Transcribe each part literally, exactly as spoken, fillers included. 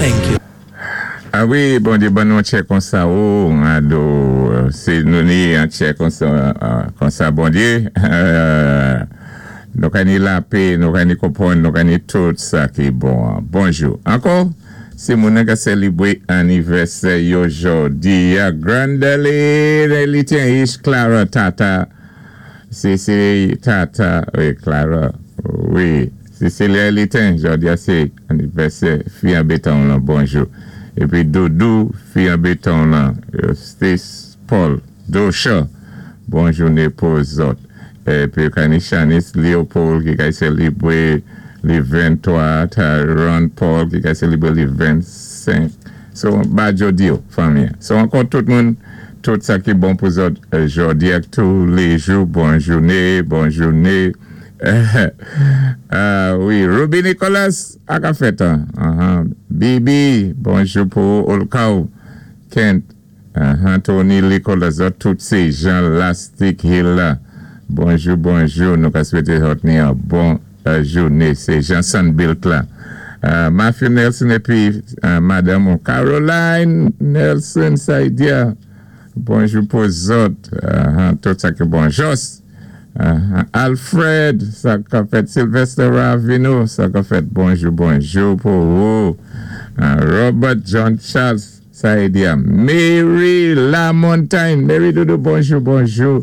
Thank you. Ah wi, Bondyé ban nou tchè konsa ou, ado, sé nou ni an tchè konsa, konsa Bondyé. Nou ka ni lapè, nou ka ni konpwann, nou ka ni tout sa ki bon. Bonjou. Ankò, sé moun ka sélébwé anivèsè yo jòdi a Grandeli, li tyen Ish Clara Tata. Cécile Tata, wi, Clara, wi. Cécilia Litin, jòdi a sé anivèsè, fi an béton la, bonjou. Épi Doudou, fi an béton la, Stace Paul, Dosha, bon jouné pou zòt. Épi ka ni Shanice Leopold ki ka sélébwé li venntwa, Tyrone Paul ki ka sélébwé li vennsenk. So, ba jòdi yo, fanmi. So, ankò tout moun, tout sa ki bon pou zòt jòdi ak tou lé jou, bon jouné, bon jouné. Ah, wi, Ruby Nicholas, a ka fèt, uh-huh. Bibi, bonjou pou Olkaou, Kent, uh-huh. Tony Nicholas, tout sé jan Lastic Hill la. Bonjou, bonjou, nou ka swété zòt ni an bon euh, jouné, sé jan Sunbuilt la. Uh, Matthew Nelson épi uh, Madame Caroline Nelson Saidia. Bonjou pou zòt, uh, tout sa ki bon. Jos, uh, Alfred, sa ka fèt Sylvester Ravino, sa ka fèt bonjou, bonjou pou ou. Uh, Robert John Charles Saidia. Mary Lamontagne, Mary Doudou, bonjou, bonjou.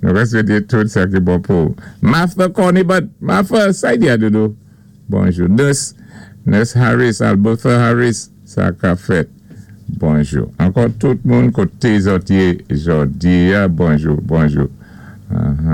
Nou ka swété tout sa ki bon pou. Martha Cornibut, Martha Saidia Doudou, bonjou. Nurse, Nurse Harris, Albertha Harris, sa ka fèt. Bonjou. Ankò tout moun koté zòt yé jòdi a, bonjou, bonjou. Uh-huh.